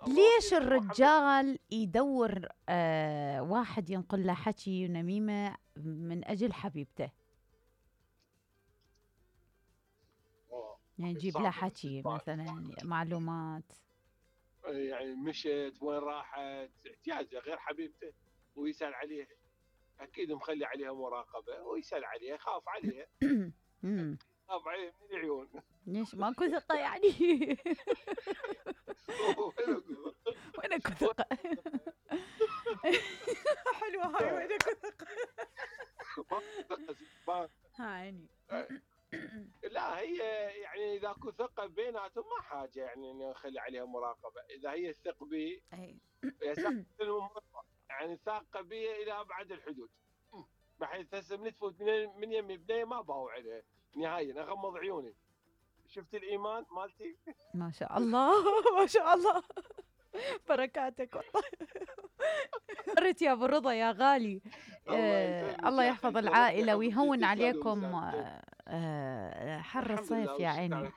ليش الرجال يدور واحد ينقل له حكي ونميمة من أجل حبيبته؟ يعني يجيب له حكي مثلا معلومات، يعني مشت وين راحت، احتياجه غير حبيبته ويسأل عليها، أكيد مخلي عليها مراقبة ويسأل عليها، يخاف عليها. خاف عليها من العيون. ليش ماكو ثقة يعني؟ وين اكو ثقة؟ حلوة هاي، وين اكو ثقة؟ هاي لا هي يعني اذا اكو ثقه بيناتهم ما حاجه يعني انه نخلي عليها مراقبه، اذا هي تثق بي يعني ثاقه بي الى ابعد الحدود، بحيث هسه من تفوت من يمي بنيه ما باوع عليها نهائيا، اغمض عيوني. شفت الايمان مالتي؟ ما شاء الله ما شاء الله، بركاتك والله. مرت يا ابو رضا يا غالي. الله يحفظ العائله ويهون عليكم حر الصيف يا عيني.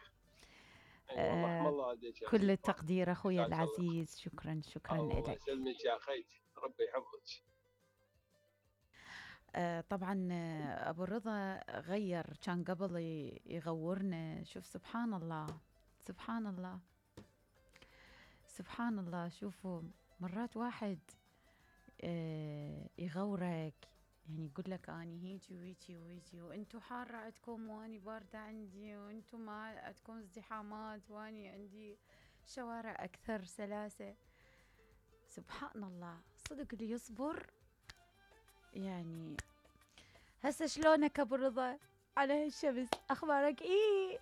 كل التقدير اخوي العزيز، شكرا الله لك. يسلمك يا خيتي، ربي يحفظك. طبعا ابو الرضا غير، كان قبل يغورنا، شوف سبحان الله سبحان الله سبحان الله. شوفوا مرات واحد يغورك، يعني يقول لك اني هيجي وهيجي وهيجي، وانتم حاره عندكم واني بارده عندي، وانتم ما عندكم ازدحامات واني عندي شوارع اكثر سلاسه. سبحان الله، صدق اللي يصبر. يعني هسه شلونك ابو رضا على هالشمس؟ اخبارك ايه؟